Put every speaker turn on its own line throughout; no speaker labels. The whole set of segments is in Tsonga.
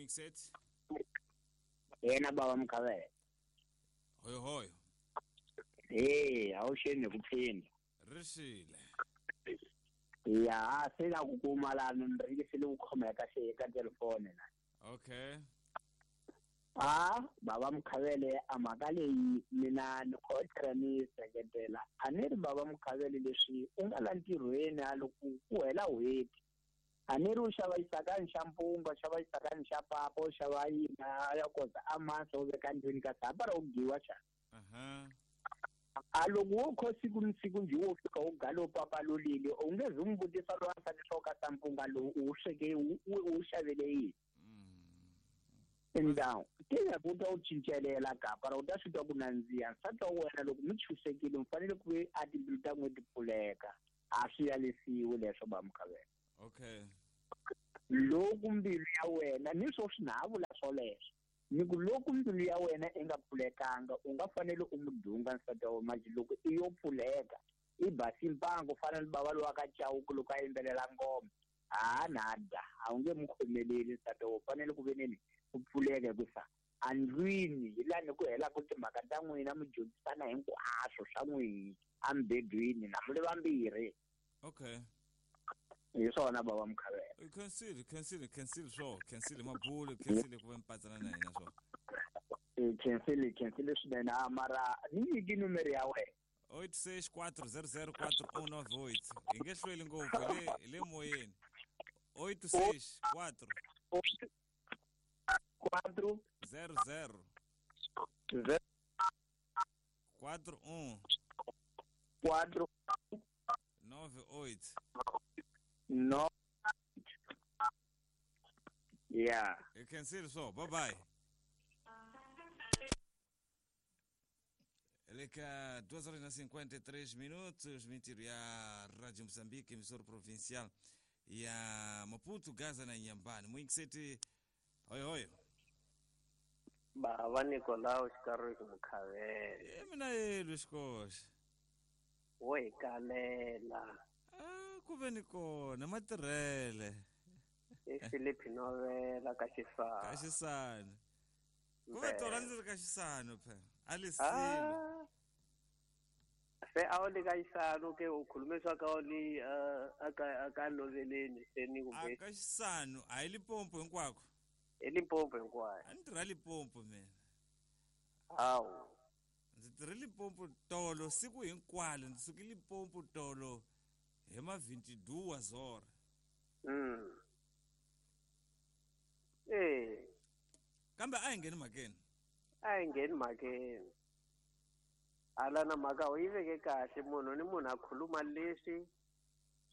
Muikset.
Yena baba Mkhavele.
Hoyo hoyo.
Eh, awusheni kuphinda.
Rixile.
Ya, se la ku kuma la ni se le ku khomeka se eka telefoni na.
Okay.
Ah, baba Mkhavele a mhaka leyi mina ni khotlhela ni seketela. A ni ri baba Mkhavele leswi u nga la ntirhweni a loko ku hela n'hweti. A ni ri u xava xisakani xa mpunga, u xava xisakani xa papa, u xava yini a ya koza a masa u veka ndlwini kasi hapa ra u giwa xana.
Aha.
A loko wo kho siku ni siku njhe wo fika u galo papa lolile u nge zi n'wi vutisa loyi a fanele ka ta mpunga lowu u wu sweke u wu xavele yini. Ndhawu ti ya ku ta u cincelela gapa ra u ta swi twa ku nandziha nsati wa wena loko mi chusekile mi fanele ku ve a timbilu ta n'we ti pfuleka a swi yalisiwi leswo ba Mkhavele.
Okay.
Loko mbilu ya wena ni swo swi na ha vula swoleswo ni ku loko mbilu ya wena i nga pfulekanga u nga fanele u mu dunga nsati wa wena manje loko i yo pfuleka i basi mpango fana ni bava lowa ka Chauke loko a yimbelela ngoma ha nada a wu nge mu khomeleli nsati wa wena u fanele ku ve nini ku pfuleka hikusa andlwini hi laha ni ku helaka timhaka ta n'wina mi dyondzisana hinkwaswo swa n'wihi emubedweni na mi ri vambirhi.
Okay.
Hi swona baba Mkhavele.
Khensile, khensile, khensile swo, khensile mabulu, khensile ku va mipatsana na hina swo.
Khensile, khensile swinene a mara ni nyiki numero ya wena.
864004198. Hi nge hlweli ngopfu hi le hi le moyeni. 864
4
00
0
41
4
98.
9 Yeah.
Hi khensile swo. Bye bye. Le ka 2 horas na 53 minutos, mintirho ya Radio Moçambique, emissora provincial ya Maputo, Gaza na Inhambane. Muingiseti, hoyo hoyo.
Bava Nicolau Xikariki Mukhavele.
E mina yelo xikoxa.
Wo hi kalela.
Ah, ku ve ni kona matirhele.
I Philip Novela ka Xisana.
Ka Xisana. Ku ve tona ndzi ri ka Xisana phela. A li silo.
Se a wu le ka Xisano ke u khulume swa ka u li a ka Noveleni se ni kumbe.
A ka Xisano a hi Limpopo hinkwako.
Hi Limpopo hinkwayo.
A ni tirha Limpopo mina.
Hawu.
Ndzi tirhe Limpopo tolo siku hinkwalo ndzi suke Limpopo tolo hi ma 22 zora.
Eh.
Kambe a hi ngheni mhakeni.
A hi ngheni mhakeni. Hala na mhaka u yi veke kahle munhu ni munhu a khuluma leswi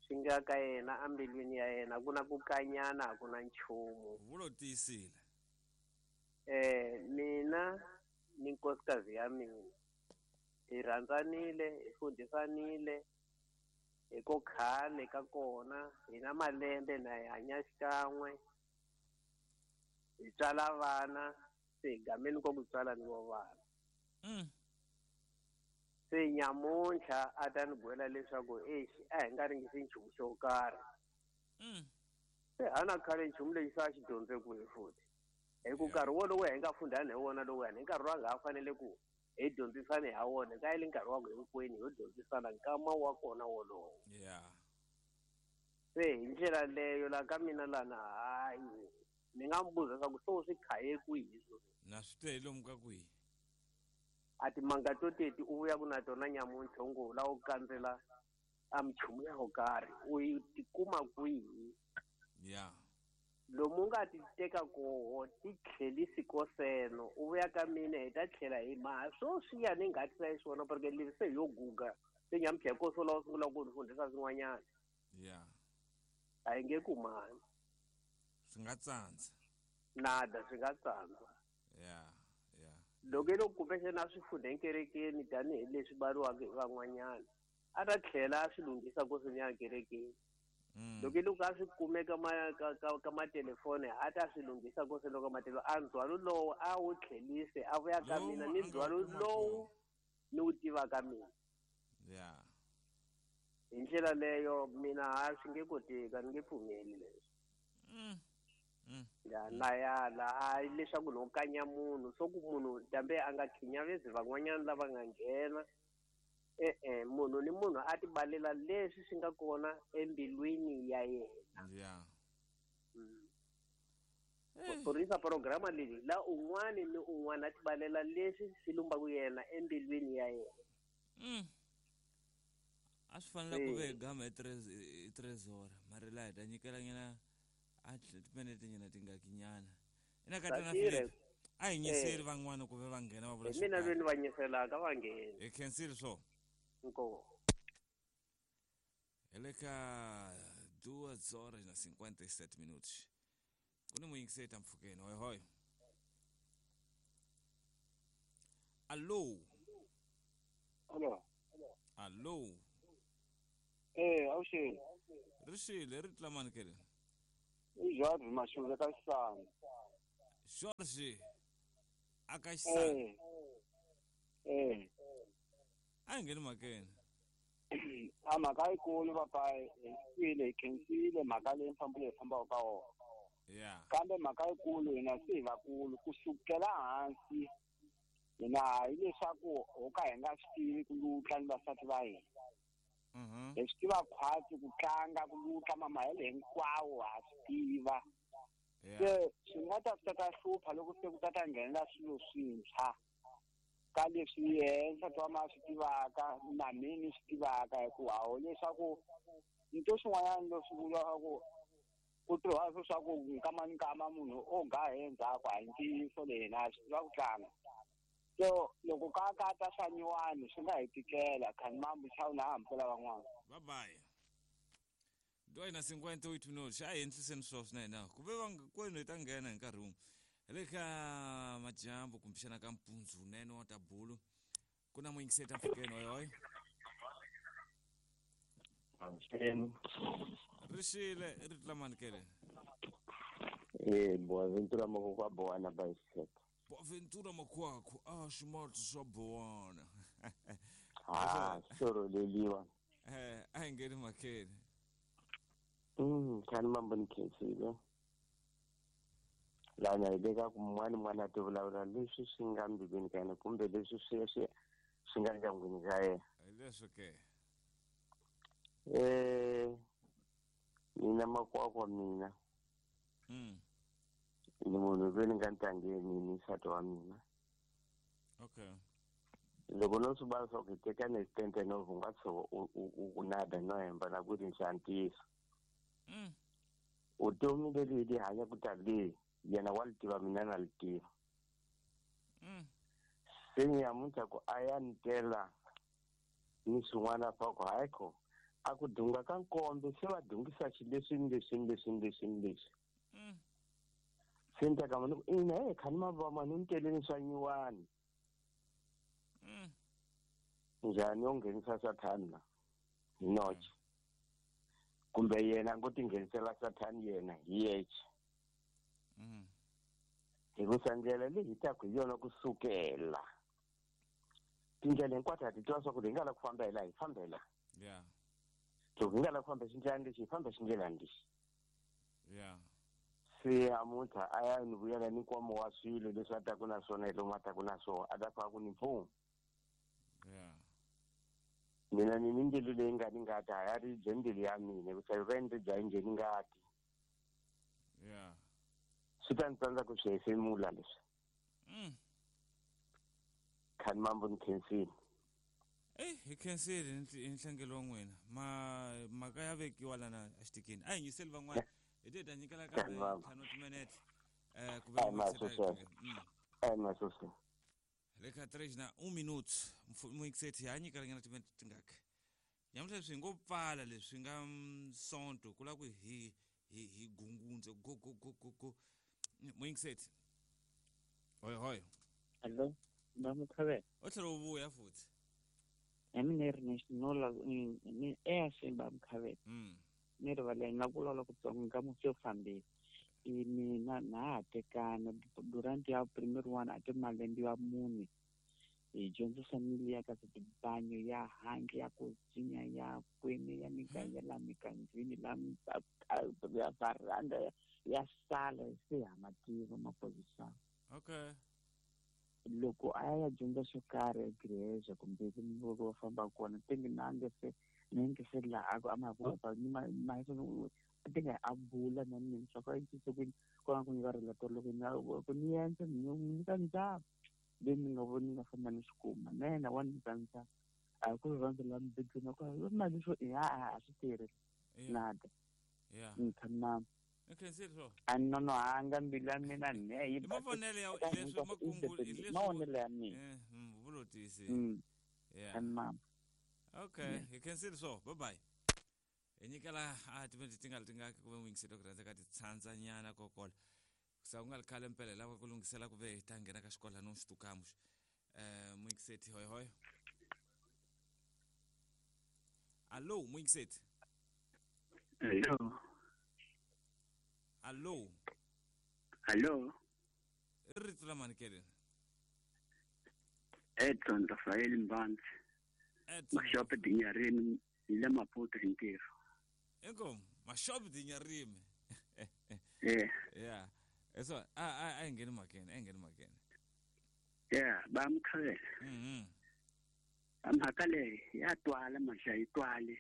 swi nga ka yena embilwini ya yena ku na ku kanyana a ku na nchumu.
Vulo tiyisile.
Mina ni nkosikazi ya mina hi rhandzanile hi fundhisanile hi ko khale ka kona hi na malembe na hi hanya xikan'we hi tswala vana se hi gameni ko ku tswala ni vo vana. Se nyamuntlha a ta ni gwela leswaku exi a hi nga ringisi nchumu xo karhi. Se a na khale nchumu lexi se a xi dyondze kwihi futhi hi ku nkarhi wolowo hi nga fundhani hi wona lowuyani hi nkarhi lowu a nga ha fanele ku hi dyondzisane ha wona ka yile nkarhi wa ku hinkwenu ho dyondzisana nkama wa kona wolowo. Se hi ndlela leyo la ka mina lana hayi ni nga n'wi buza leswaku se u swi khaye kwihi sweswi.
Na swi twe hi lomu ka kwihi.
A timanga to teti u vuya ku na tona nyamuntlha u ngo la u kandzela a minchumu ya ko karhi u yi tikuma kwihi. Lomu u nga ti teka koho ti tlhelisi koseno u vuya ka mina hi ta tlhela hi maha swoswiya ni nga tisa xiswona porque leswi se yo guga se nyamuntlha hi koso lawa sungula ku ni fundhisa swin'wanyana. A hi nge kumani.
Swi nga tsandza.
Nada swi nga tsandza. Loko i loko kumbexana a swi fundha enkerekeni tanihileswi bariwaka hi van'wanyana a ta tlhela a swi lunghisa koseni ya kerekeni. Loko i loko a swi kume ka ka matelefoni a ta swi lunghisa koseni ka matelefoni a ndzhwalo lowu a wu tlhelise a vuya ka mina ni ndzhwalo lowu ni wu tivaka mina. Hi ndlela leyo mina ha swi nge koteki a ni nge pfumeli leswi. Ya na yala a leswaku no kanya munhu swo ku munhu dambe a nga khinyavezi van'wanyana lava nga nghena e-e munhu ni munhu a tibalela leswi swi nga kona embilwini ya yena.
Ya.
Kurisa programa leyi la un'wana ni un'wana a tibalela leswi swi lumbaku yena embilwini ya yena.
A swi fanele ku ve gama hi 3 horas mara laha hi ta nyikela nyana a timinete nyana tingakinyana ina ka tana
Satire.
Philip a hi nyiseli van'wana ku ve va nghena va vula
Hi mina lweni va nyiselaka va nghena.
Hi khensile swo.
Inkomu.
Hi le ka 2 horas na 57 minutos ku ni muyingiseti mpfhukeni. Hoy hoy, allo.
Alo.
Allo.
Awuxeni.
Ri xile ri tlamani kele.
I George Mashule ka Xisana.
George aka Xisana.
Eh. Eh.
A hi ngheni mhakeni.
A mhaka yikulu papa, hi twile, hi khensile mhaka leyi mfambo leyi fambaka ka wona. Kambe mhaka yikulu hina se hi vakulu kusukela hansi hina hileswaku ho ka hi nga swi tivi ku lutla ni vasati va hina. Hi swi tiva khwatsi ku tlanga ku lutla mamahelo hinkwawo ha swi tiva. Se swi nga ta swi ta hlupha loko se ku ta ta nghenela swilo swintshwa ka leswi yehe nsati wa ma swi tivaka na mina ni swi tivaka, hikuva hawu leswaku nto swin'wanyana leswi vuriwaka ku ku tirhiwa swo swa ku nkama ni nkama munhu o ga hi endzhaku a hi ntiyiso leyi hina swi tiva ku tlanga. So loko ka ka ta swa nyuwani swi nga hi tikela khani mambu chawu na hambukela van'wana.
Bye bye. 2 na 58 minutos a hi endliseni swo swinene ku ve va kwenu hi ta nghena hi nkarhi wun'we. Hi le ka madyambu kumbexana ka mpundzu wunene wa tabulu ku na muyingiseti mpfhukeni. Hoy hoy.
Avuxeni.
Ri xile ri tlamani kele.
Boaventura Moko Boana Bicycle.
Boaventura Makwakwa a ximatsi swa Bowana.
Ah, swi leliwa.
A hi ngheni mhakeni.
Khani mambo ni khensile. Lana hi le ka ku mun'wana n'wana a ti vulavula leswi swi nga mbilwini ka yena kumbe leswi swi nga ndyangwini ka yena.
Hi leswo ke.
Mina Makwakwa mina ni munhu loyi ni nga ntangeni ni nsati wa mina. Loko no swi vona swa ku hi tekane hi tente no u nga tshuka u nada no hemba na ku ri xa ntiyiso. Vutomi leri hi li hanyaka tanihi yena wa li tiva, mina na li tiva. Se nyamuntlha ku a ya ni tela ni swin'wana swa ku hayi kho a ku dunga ka nkombe se va dungisa xileswi ni leswi ni leswi ni leswi ni leswi. Se ni ta kama ni ku ina he khani mava mani ni teleni swa nyuwani. Njhani yo nghenisa sathani la hi noche kumbe yena a ngo tinghenisela sathani yena hi yexe? Hikusa ndlela leyi hi taku hi yona kusukela tindlela hinkwato ha ti tiva swa ku hi nga la ku famba hi laha hi famba hi laha. Loko hi nga la ku famba xindlelani lexi hi famba xindlelani lexi. Se amuntlha a ya ni vuyela ni nkwama wa swilo leswi a taku na swona hi lomu a taku na swona a ta fika ku ni mpfuno. Mina ni mbilu leyi nga ni ngati a ya ribye mbilu ya mina hikusa yi va ni ribye a yi ngheni ngati. Swi ta ni tsandza ku swi hefemula leswi. Khani mambo ni khensile.
Eyi, hi khensile hi nhlengelo wa n'wina. Ma mhaka ya vekiwa lana exitikini a hi nyiseli van'wana hi te hi ta nyikela kambe
Khani mambo.
5 timinete ku ve
Ai masose. Ai masose.
Le ka 3 na 1 minute muyingiseti ha nyikela nyana timinete tingaki nyamuntlha leswi hi ngo pfala leswi nga sonto ku lava ku hi gungundze go go go go go. Muyingiseti, hoy hoy.
Allo, ba Mukhabela.
U tlhela u vuya futhi.
Ya mina ri national ni eyaxeni ba Mukhabela. Ni rivaleni na ku vulavula kutsongo ka musi yo fambile. I mina na ha tekana durante ya primero one a ti malembe ya 4 hi dyondzisa mili ya ka tibanyo ya handle ya ku dzinya ya kwini ya miganga la mikandzini la ya varanda Ya sala se ha mativa maphorisa.
Okay.
Loko a ya dyondza xo karhi egreje kumbe loko va famba kona tingi nange se ninge se laha a ma va ni ma ti nga a bula na mina swa ku a ku ku nga ri la loko na ku ni endla ni nyika ndzhaku leyi ni nga voni nga famba ni swi kuma na yena wa nyika ndzhaku a ku rhandza la mubedweni ku mali swo ya a swi tirhi nada ni tshama a nonohanga mbilu ya mina ne yi
mavonelo ya leswi makungu leswi
mavonelo ya mina
vulotisi
yeah mama
okay hi khensile swo bye bye hi nyikela a timinete ti nga ri tingaki ku ve n'wingiselo ku rhandza ka ti tshandzanyana kokola sa ku nga ri khale mpela lava ku lunghisela ku ve hi ta nghena ka xikolano xitukamu n'wingiseti hoy hoy allo n'wingiseti
hello
allo
allo
i rito la mani keleni
Edson Rafael Mbanzi Mashope Dinyarimi hi le Maputo hi ntirho
inkomu Mashope Dinyarimi yeah eso a hi ngheni mhakeni a hi ngheni mhakeni
yeah va mukhavela mhaka leyi ya twala maxa yi twali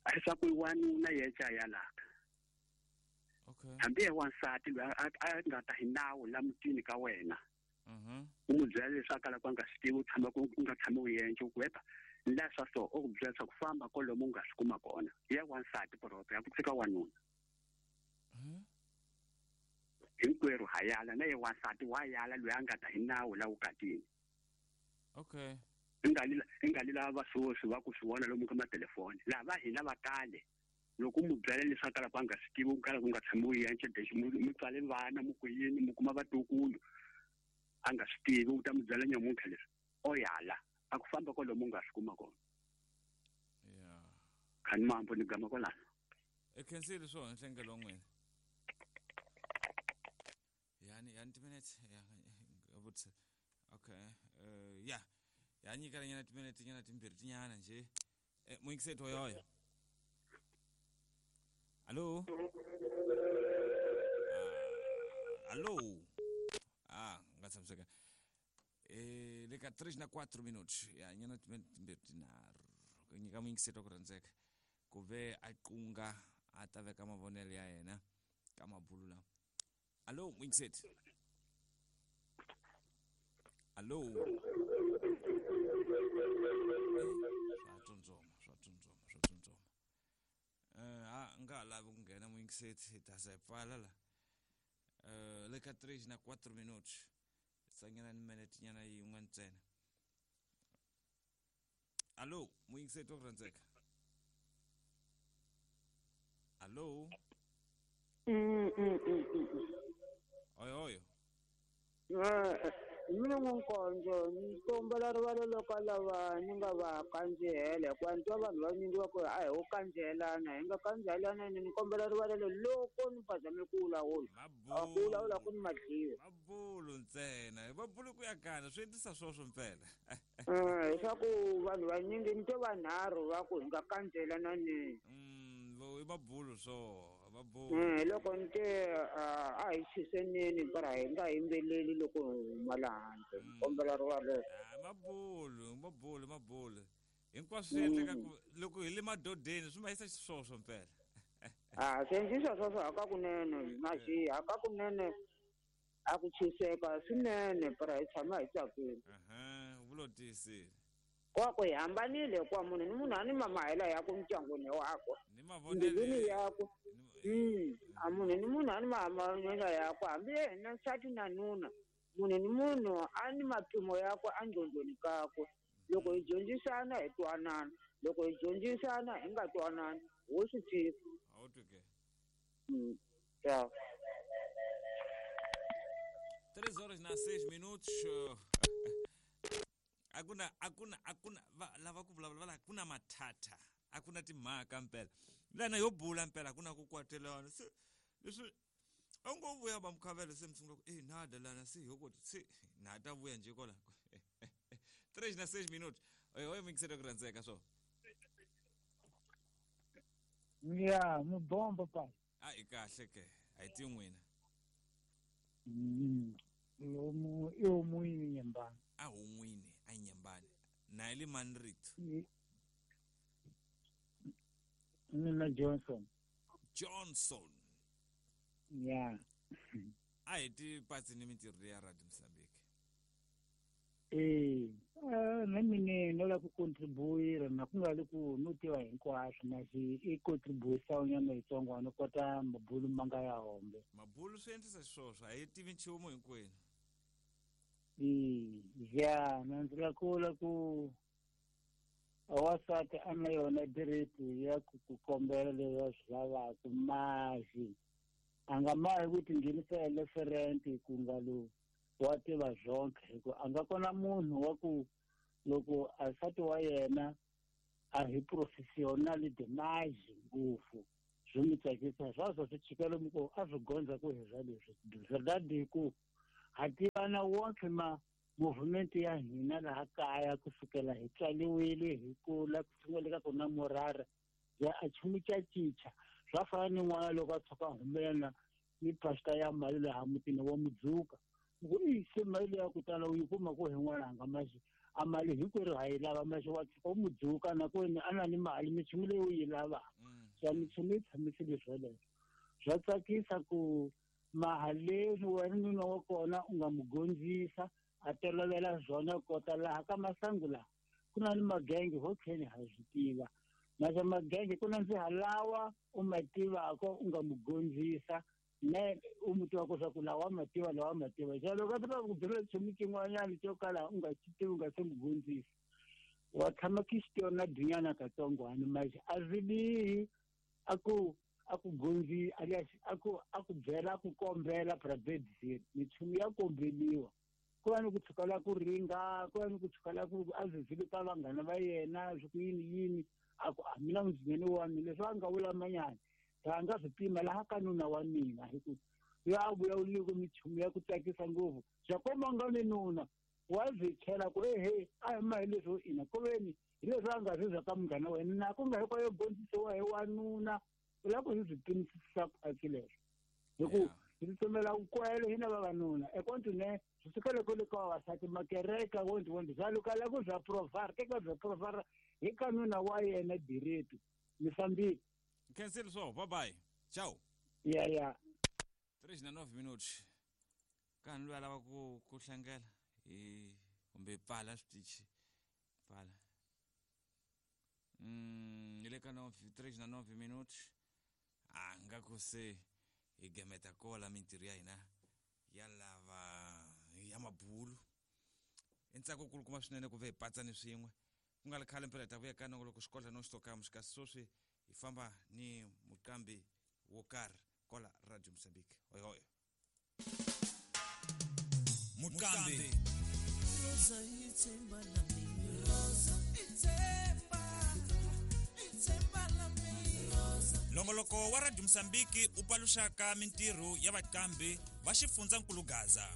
a hi swa ku wanuna yeca yalaka
okay
hambi ye wansati loyi a nga ta hi nawu la mutini ka wena u n'wi byela leswi a kalaka a nga swi tivi u tshama ku u nga tshami u endla u ku wepa la swa so u ku byela leswaku famba kwalomu u nga swi kuma kona ya wansati poroto ya ku tshika wanuna hinkwerhu ha yala na ye wansati wa yala loyi a nga ta hi nawu la vukatini
okay
i nga li lava vasosi va ku swi vona lomu ka matelefoni lava hina va kale loko mu byela leswi a kalaka a nga swi tivi u kalaka u nga tshami u endla lexi mi tswale vana mu ku yini mi kuma vatukulu a nga swi tivi u ta mi byela nyamuntlha leswi o yala a ku famba kwalomu u nga swi kuma kona
yeah
khani mambo ni gama kwalano
i khensile swona nhlengelo wa n'wina yani yani timinete ya vutisa okay ya ya nyikela nyana timinete nyana timbirhi tinyana nje muyingiseti hoyoyo allo allo nga tshamiseka le ka 3 na 4 minutos ya nyana timinete timbirhi tinharhu ku nyika muyingiseti wa ku rhandzeka ku ve a qunga a ta veka mavonelo ya yena ka mabulu lawa allo muyingiseti allo swa tsundzuma a nga ha lavi ku nghena muyingiseti hi ta za hi pfala la le ka 3 na 4 minutos tsanyana ni minete nyana yin'we ntsena allo muyingiseti wa ku rhandzeka allo oyo oyo
mina n'wankonzo ni kombela rivalelo ka lava ni nga va kandzihela hikuva ni twa vanhu vanyingi va ku a hi wo kandzihelana hi nga kandzihelanani ni kombela rivalelo loko ni phazame ku vulavula ku vulavula ku ni madliwa
mabulu ntsena hi mabulu ku ya kana swi endlisa swoswo mpela
leswaku vanhu vanyingi ni twe vanharhu va ku hi nga kandzihelanani
i mabulu swo
loko ni te a hi chiseneni para hi nga yimbeleli loko hi huma laha handle kombela rivalelo
mabulu hinkwaswo swi endleka ku loko hi le madodeni swi ma yisa xiswoswo mpela
swi endlisa swoswo hakakunene maxi hakakunene a ku chiseka swinene para hi tshama hi tsakile
vulotiyisile
kwako hi hambanile hikuva munhu ni munhu a ni mamahela yakwe mindyangwini wakwe mbilwini yakwe a munhu ni munhu a ni mahambanelo yakwe hambi yena nsati na nuna munhu ni munhu a ni mapimo yakwe enqondweni kakwe loko hi dyondzisana hi twanana loko hi dyondzisana hi nga twanani wo swi tiva
a wu twi ke
ya
3 horas na 6 minutos akuna lava ku vulavula va akuna mathatha akuna timhaka mpela lana yo bula mpela akuna ku kwatelana se leswi a ngo vuya va mukhavela se mi sungula ku nada lana se hoko se na ta vuya nje kola 3 na 6 minutos oyo mixere ku rhandzeka swo
ya mubombo pa
a i kahle ke A hi tivi n'wina.
Lomu i homun'wini Nyembani.
A hon'wini a Nyembani. Na ile mani rito?
Mina Johnson.
Johnson.
Yeah.
A hi ti patsi ni mintirho ya Radio Mozambique.
Na mina no lava ku contribuer na ku nga ri ku no tiva hinkwaswo masi i contribution nyana yitsongo no kota mabulu ma nga ya hombe.
Mabulu swi endlisa xiswoswo a hi tivi nchumu hinkwenu.
Ya na ndzi la kula ku wansati a na yona direti ya ku ku kombela leswi a swi lavaka masi a nga mahi ku tinghenisa eleferente ku nga lo wa tiva zonke hi ku a nga kona munhu wa ku loko a nsati wa yena a hi professional demise ngopfu swi n'wi tsakisa swaswo swi chika lomu ku a swi gondza ku hi swa leswi verdade ku ha tivana wonke ma movement ya hina laha kaya kusukela hi tswaliwile hi kula ku sungula ka kona murara ya a chumu ca cinca swa fana ni n'wana loko a tshuka a humelela ni pasta ya mali laha mutini wa mudzuka ku i se mali ya ku tala u yi kuma ku hi n'wananga masi a mali hinkwerhu ha yi lava masi wa tshuka u mudzuka na ku a na ni mali minchumu leyi u yi lavaka swa minchumu yi tshamisile swoleswo swa tsakisa ku mahaleni wena nuna wa kona u nga mu gondzisa a tolovela swona kota laha ka masangu laha ku na ni magenge ho tlheni ha swi tiva masa magenge ku na ndziha lawa u ma tivaka u nga mu gondzisa ne u mu tivaka swa ku lawa mativa lawa mativa xa loko a tiva ku byela nchumu xin'wanyana xo kala u nga xi tivi u nga se mu gondzisa wa tshama ki xi tiva na dunyana katsongwana masi a swi bihi a ku gondzi a ku byela a ku kombela prabedzini minchumu ya kombeliwa ku va ni ku tshuka la ku ringa ku va ni ku tshuka la ku a zizile ka vanghana va yena swi ku yini yini a ku a mina mudzinene wa mina leswi a nga vula manyana a nga swi pima laha ka nuna wa mina hi ku yo a vulavulile minchumu ya ku tsakisa ngopfu swa komba nga ni nuna wa swi chela ku ehe a hi ma hi leswo ina ku veni hi leswi a nga swi zwa ka munghana wa yena na ku nga hinkwayo gondzisiwa hi wanuna u lava ku hi swi pimisisa khwatsi leswo hi ku hi tsutsumela nkwele hina vavanuna ekontine swi sukele kwele ka vavasati makereka wonti wonti swa lukala ku bya provara teka bya provara hi ka nuna wa yena direto mi fambile.
Cancel so bye bye ciao.
Yeah yeah
39 minutos kani loyi a lava ku hlangela hi kumbe pfala switichi pfala hi le ka 39 minutos a nga ku se hi gemeta kola mintirho ya hina ya lava ya mabulu i ntsako kulu kuma swinene ku ve hi patsani swin'we ku nga ri khale mpela hi ta vuya ka nongoloko xikodla no xitokamu kasi sweswi hi famba ni muqambi wo karhi kola Radio Mozambique hoy hoy muqambi
Rosa ithemba la mina Rosa ithemba ithemba la mina Rosa.
Longoloko wa Radio Mozambique u paluxaka mintirho ya vaqambi va xifundzankulu Gaza.